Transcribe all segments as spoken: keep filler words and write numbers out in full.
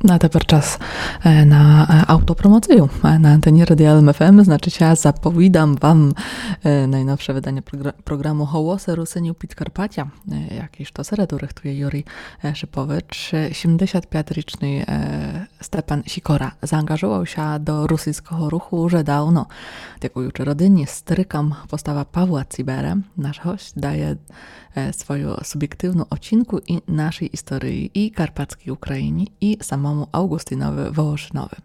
Ну, а тепер час, е, на, е, автопромоцію. Е, на антені Радія Л М Ф М, значить, я заповідам вам, е, найновше видання програ-, програму «Голосы Русинів Підкарпатя», е, який штосереду рыхтує Юрій, е, Шипович. Е, сімдесят пятьрічный, е, Степан Сікора заанґажував ся до русиньского руху уже давно. Дякуючи родині, старикам, постава Павла Ціберы, наш гость дає е, свою субєктивну оцінку і нашій історії, і Карпатській Україні, і самому Авґустинови Волошинови.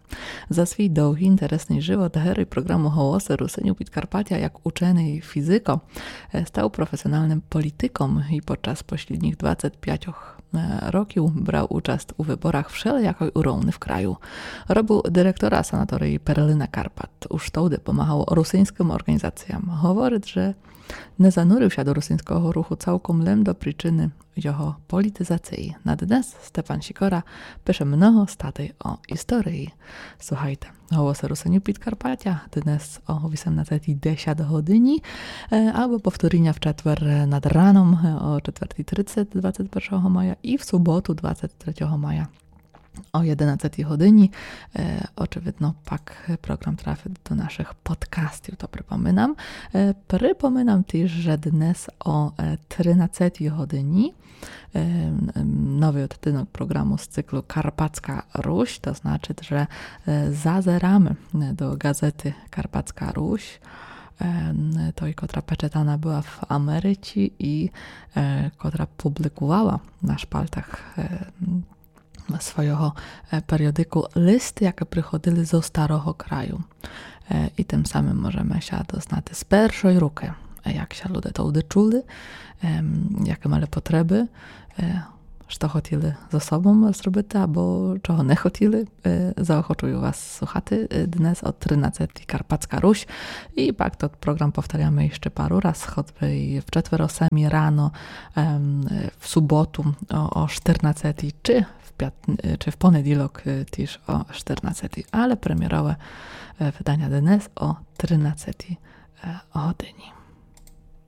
За свій довгый, інтересный живот герой програму «Голосы Русинів Підкарпатя», як ученый фізико, е, став професіоналным політиком і під час послідніх двадцять пять, е, років брав участь у выборах вшелиякой уровни в краю. Робив директора санаторії «Перлина Карпат». Уж товды помагав русиньскым орґанізаціям. Говорить, же не занурив ся до русиньского руху цалком лем до причины його політизації. На днес Степан Сікора пише много статей о історії. Слухайте «Голосы Русинів Підкарпатя» днес о вісемнадцятій десять годині, е, або повторіня в четвер над раном, е, о четвертій тридцять двадцять першого мая і в суботу двадцять третього мая о єдинадцятій годині. Е, очевидно, пак програм трафить до нашых подкастів, то припоминам. Е, припоминам тіж, же днес о, е, тринадцятій годині, е, м, новый одтинок програму з циклу «Карпатська Русь», то значить, же, е, зазераме, е, до ґазеты «Карпатська Русь», е, м, той, котра печатана была в Америці і, е, котра публикувала на шпальтах, е, м, свойого, е, періодику листы, якы приходили зо Старого Краю. Е, і тым самым можеме ся дознати з першой рукы, е, як ся люде товды чули, ем, якы мали потребы, е, што хотіли зо собом зробити, або чого не хотіли. Е, заохочую вас слухати, е, днес о тринадцятій «Карпатська Русь». І пак тот програм повторяме іщы пару раз, хоть бы і в четвер о семій рано, ем, е, в суботу о, о штирнадцятій, чи в пят-, е, чи в понеділок, е, тіж о штирнадцятій. Але премєрове, е, выданя днес о тринадцятій, е, годині.